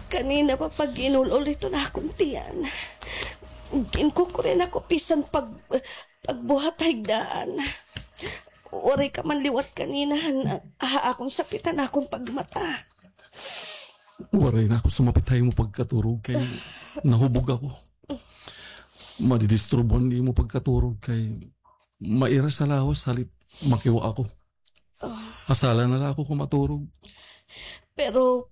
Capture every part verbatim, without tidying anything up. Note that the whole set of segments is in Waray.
Kanina pa pag-inul-ol iton akon tiyan. Ginkukuri na ako bisan pag, pagbuhat ha higdaan. Waray ka man liwat kanina, ha, ha akon sapitan akon pagmata. Waray na ako sumapit ha imo pagkaturog kay nahubog ako. Madidisturbuhan imo pagkaturog kay mairas sa lawas halit makiwa ako. Hasala na la ako kon maturog. Pero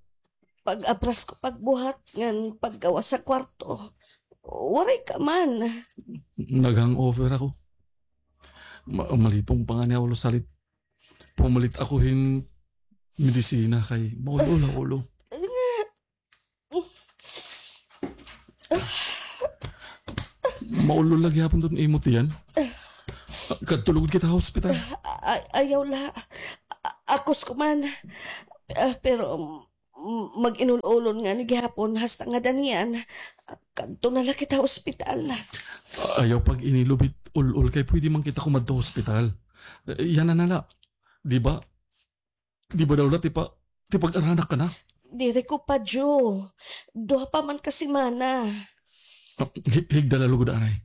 pag-abras ko pagbuhat ngan paggawas ha kwarto, waray ka man. Nag-hangover ako. Ma-, malipong pa ngani ha ulo halit pumalit ako hin medisina kay maul-ol ha ulo. Maul-ol la gihapon iton imo tiyan. Kadto lugod kita ha ospital. Ay, ayaw la. A-, akos ko man. Ah, pero, mm, mag-inul-ulon ngani gihapon hasta ngada niyan. Kadto na la kita ha ospital. Ayaw pag-inilubit ul-ol kay pwede man kita kumadto ha ospital. Eh, yana na la. Di ba? Di ba daw la tipa-, tipag-aranak ka na? Diri ko pa, Jo. Duha pa man ka semana. Ah, hi-, higda la lugod anay.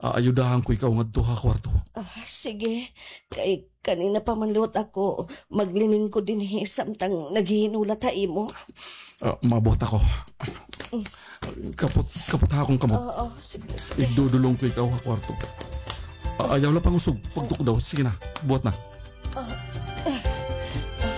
Aayudahan ko ikaw ngadto ha kwarto. Ah, sige. Kay kanina pa man liwat ako maglilingkod dinhi samtang naghihinulat ha imo. Ah, mabuhat ako. Kapot, kapot ha akon kamot. Oo, sige, sige. Igdudulong ko ikaw ha kwarto. Ah, ayaw la pangusog, pagtukdaw. Sige na, buhat na.